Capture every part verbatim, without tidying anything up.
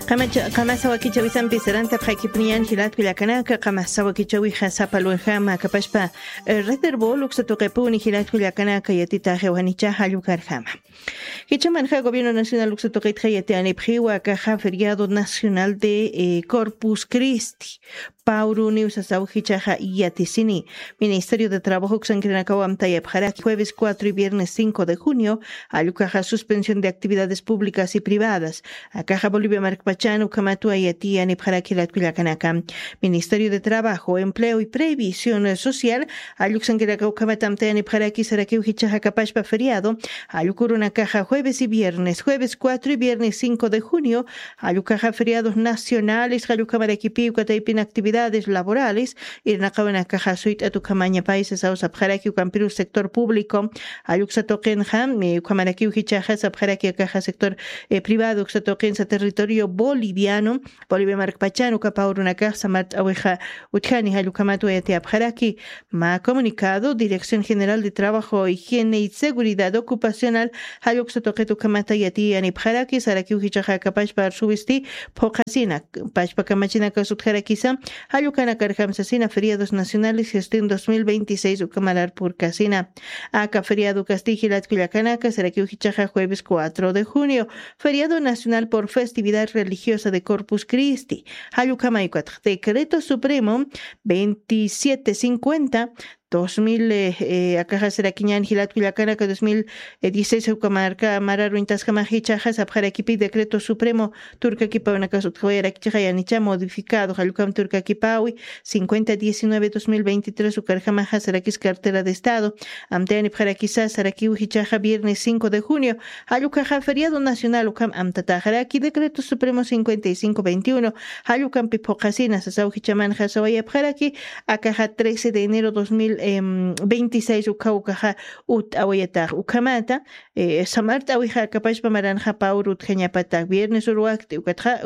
Qamacha qamasa wakichawisampi sarantapxaykipuniyan jilatku llakanaka, qamasa wakichawixa sapalwajama kapashpa, eh, reterbol uksatuqipuni jilatku llakanaka yatitaxewanicha jallukarjama. Jichamanxa gobierno nacional uksatuqitxa yatiyanipxiwa kaxa feriado nacional de, eh, corpus cristi, pauruniw sasaw jichaxa yatisini. Ministerio de trabajo uksankirinakawam tayapxaraki jueves cuatro y viernes cinco de junio, allukaxa suspensión de actividades públicas y privadas. Akaxa bolivia markpachan ukhamatwa yatiyanipxaraki latkullakanaka. Ministerio de trabajo empleo y previsión social, alluksankirinaka ukhamatam tayanipxaraki sarakiw jichaxa kapashpa feriado, allukurunakaxa jueves y viernes jueves cuatro y viernes cinco de junio, allukaxa feriados nacionales jallukhamarakipiw kataypin actividades laborales, irnaqawanakaxa suyt'at ukhamaña paisas awsapxaraki ukampirus sector público, alluksatuqinxa ukhamarakiw jichaxa sapxaraki akaxa sector privado uksatuqinsa territorio boliviano, bolivia markpachan ukapawrunakaxsa mart'awixa utjani jallukhamatwa yatiyapxaraki. Ma comunicado dirección general de trabajo higiene y seguridad ocupacional, jalluksa tuqit ukhamata yatiyanipxaraki sarakiw jichaxa kapashpa arsuwisti phuqhasina pashpa kamachinakas utjarakisa, jallukanakarjamsasina feriados nacionales gestin dos mil veintiséis ukamarar purkasina. Aka feriado kasti jilatkullakanaka sarakiw jichaxa jueves cuatro de junio, feriado nacional por festividad religiosa de corpus cristi, jallukhamayukatx decreto supremo veintisiete cincuenta, dos mil akaxasirakiñan jilatkullakanaka dos mil dieciséis ukamarka mararuñtaskamax jichaxa sapxarakipi decreto supremo turkakipawnakas utjawayarakichixayanicha modificado jallukam turkakipawi cincuenta diecinueve dos mil veintitrés ukarjamaxa sarakis cartera de estado, amtayanipxarakisa sarakiw jichaxa viernes cinco de junio, jallukhaxa feriado nacional ukham amtataxaraki decreto supremo cincuenta y cinco veintiuno, jallukampi phuqhasina sasaw jichamanxa sawayapxaraki. Akaxa trece de enero dos mil veintiséis ukhaw ukaxa utt'awayatax ukhamata samart'awixa kapashpa maranxa pawru utjañapata viernes uruwakt'i ukatxa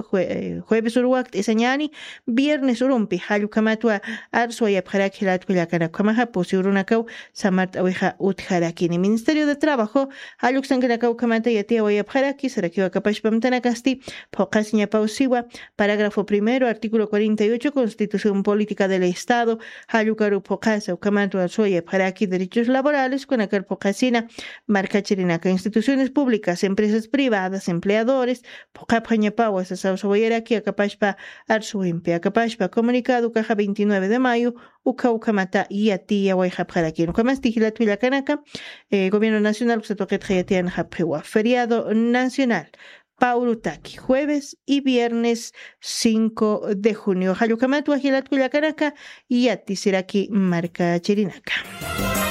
jueves uruwakt'i sañani, viernes urumpi jallukhamatwa arswayapxaraki jilatkullakanaka ukhamaxa pusi urunakaw samart'awixa utjarakini ministerio de trabajo, jalluksankanaka ukhamata yatiyawayapxaraki sarakiw akapashpa amtanakasti phuqhasiñapaw siwa. Parágrafo primero artículo cuarenta y ocho constitución política del estado, jallukaru phuqhasa ukhamatwa suwayapxaraki derechos laborales kunakar phuqhasina markachirinaka instituciones públicas empresas privadas empleadores, phuqhapxañapawa sasaw sawayaraki akapashpa arsuwimpi akapashpa comunicado ukaxa veintinueve de mayo ukha ukhamata yatiyawayxapxarakini ukhamasti jilatkullakanaka. Gobierno nacional uksatuqitxa yatiyanxapxiwa feriado nacional, pawrutaki jueves y viernes cinco de junio jallukhamatwa jilatkullakanaka. Yatisiraki markachirinaka.